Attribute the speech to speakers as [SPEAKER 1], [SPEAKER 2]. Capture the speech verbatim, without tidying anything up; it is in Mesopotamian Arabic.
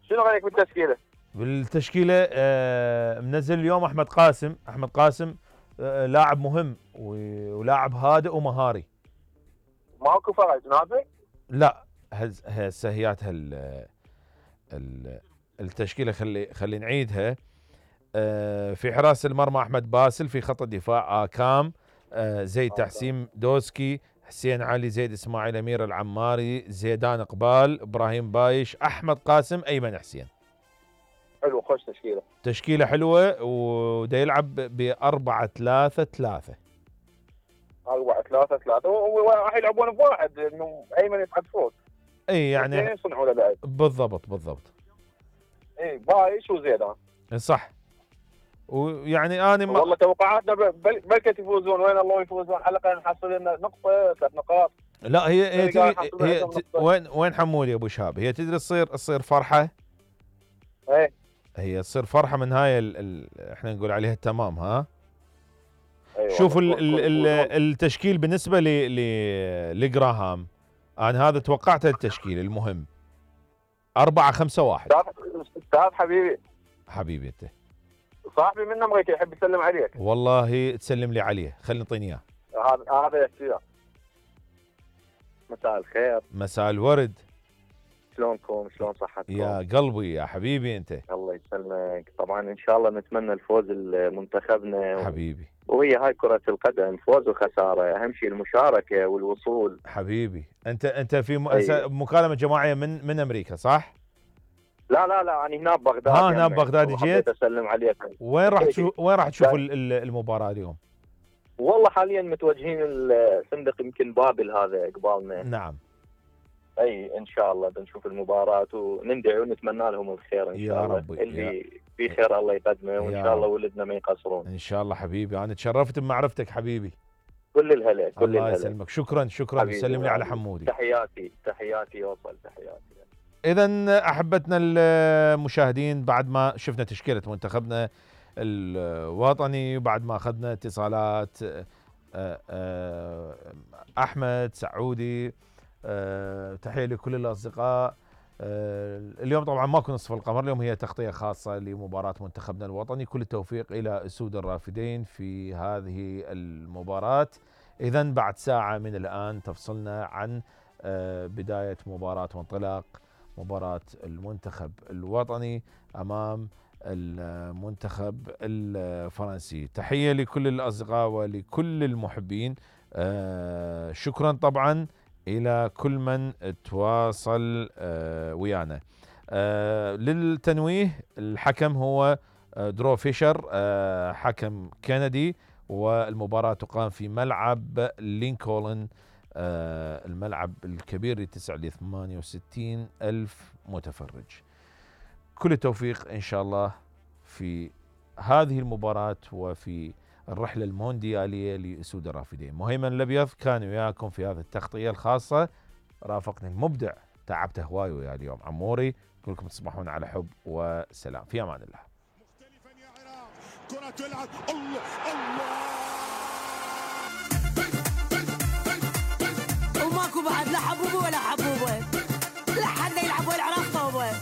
[SPEAKER 1] شنو رايك بالتشكيله؟
[SPEAKER 2] بالتشكيله آه منزل اليوم احمد قاسم، احمد قاسم آه لاعب مهم ولاعب هادئ ومهاري.
[SPEAKER 1] ماكو فرج نازل؟
[SPEAKER 2] لا هسه هيات هال التشكيله خلي خلي نعيدها. آه في حراسه المرمى احمد باسل، في خط الدفاع اكام، آه زيد تحسين دوسكي، حسين علي، زيد اسماعيل، امير العماري، زيدان اقبال، ابراهيم بايش، احمد قاسم، ايمن حسين.
[SPEAKER 1] حلو، خوش تشكيله.
[SPEAKER 2] تشكيله حلوه، ودا يلعب ب أربعة ثلاثة ثلاثة.
[SPEAKER 1] أربعة ثلاثة ثلاثة، وراح يلعبون بواحد انه ايمن يصعد فوق.
[SPEAKER 2] اي يعني
[SPEAKER 1] يصنعوا له بعد.
[SPEAKER 2] بالضبط بالضبط.
[SPEAKER 1] اي بايش وزيدان.
[SPEAKER 2] صح. ويعني انا ما
[SPEAKER 1] والله توقعاتنا بل بلكت يفوزون، وين الله يفوزون، على الاقل نحصل لنا نقطه ثلاث نقاط.
[SPEAKER 2] لا هي هي, هي, هي ت... وين وين حمودي ابو شهاب، هي تدري تصير تصير فرحه.
[SPEAKER 1] ايه
[SPEAKER 2] هي تصير فرحه من هاي ال... ال... احنا نقول عليها التمام. ها
[SPEAKER 1] أيوة.
[SPEAKER 2] شوف ال... ال... ال... التشكيل بالنسبه ل ل لجراهام، انا هذا توقعته التشكيل المهم أربعة خمسة واحد.
[SPEAKER 1] استاذ حبيبي
[SPEAKER 2] حبيبي انت
[SPEAKER 1] صاحبي من امريكا يحب يسلم عليك.
[SPEAKER 2] والله تسلم لي عليه، خلينا نعطيني اياه.
[SPEAKER 1] هذا هذا احتياط. مساء الخير.
[SPEAKER 2] مساء الورد.
[SPEAKER 1] شلونكم؟ شلون صحتكم؟
[SPEAKER 2] يا قلبي يا حبيبي انت.
[SPEAKER 1] الله يسلمك. طبعا ان شاء الله نتمنى الفوز لمنتخبنا
[SPEAKER 2] حبيبي،
[SPEAKER 1] وهي هاي كرة القدم، فوز وخسارة، اهم شيء المشاركة والوصول.
[SPEAKER 2] حبيبي انت انت في مكالمة جماعية من من امريكا صح؟
[SPEAKER 1] لا لا لا انا هنا ببغداد.
[SPEAKER 2] ها هنا ببغداد جيت.
[SPEAKER 1] اسلم عليك.
[SPEAKER 2] وين راح تشوف وين راح تشوف المباراة اليوم؟
[SPEAKER 1] والله حاليا متوجهين الفندق يمكن بابل هذا قبالنا.
[SPEAKER 2] نعم.
[SPEAKER 1] اي ان شاء الله بنشوف المباراة وندعي ونتمنى لهم الخير ان شاء الله.
[SPEAKER 2] يا ربي.
[SPEAKER 1] اللي في خير الله يقدمه، وان شاء الله ولدنا ما يقصرون.
[SPEAKER 2] ان شاء الله حبيبي، انا تشرفت بمعرفتك حبيبي.
[SPEAKER 1] كل الهلا كل
[SPEAKER 2] الله
[SPEAKER 1] الهلا.
[SPEAKER 2] يسلمك، شكرا شكرا. سلم لي على حمودي.
[SPEAKER 1] تحياتي تحياتي وصل تحياتي.
[SPEAKER 2] إذا أحبتنا المشاهدين، بعد ما شفنا تشكيلة منتخبنا الوطني وبعد ما أخذنا اتصالات أحمد سعودي، تحية لكل الأصدقاء. اليوم طبعا ماكو نصف القمر، اليوم هي تغطية خاصة لمباراة منتخبنا الوطني. كل التوفيق إلى أسود الرافدين في هذه المباراة. إذا بعد ساعة من الآن تفصلنا عن بداية مباراة وانطلاق مباراة المنتخب الوطني أمام المنتخب الفرنسي. تحية لكل الأصدقاء ولكل المحبين. آه شكرا طبعا إلى كل من تواصل آه ويانا. آه للتنويه، الحكم هو آه درو فيشر، آه حكم كندي، والمباراة تقام في ملعب لينكولن، آه الملعب الكبير يتسع ل ثمانية وستين ألف متفرج. كل التوفيق إن شاء الله في هذه المباراة وفي الرحلة المونديالية لأسود الرافدين. مهيمن الأبيض كان وياكم في هذه التغطية الخاصة، رافقني المبدع، تعبت هواي ويا اليوم عموري. كلكم تصبحون على حب وسلام، في أمان الله. كرة تلعب الله الله، وماكو بعد لا حبوبه ولا حبوبه، لا حد يلعب ولا عرفه.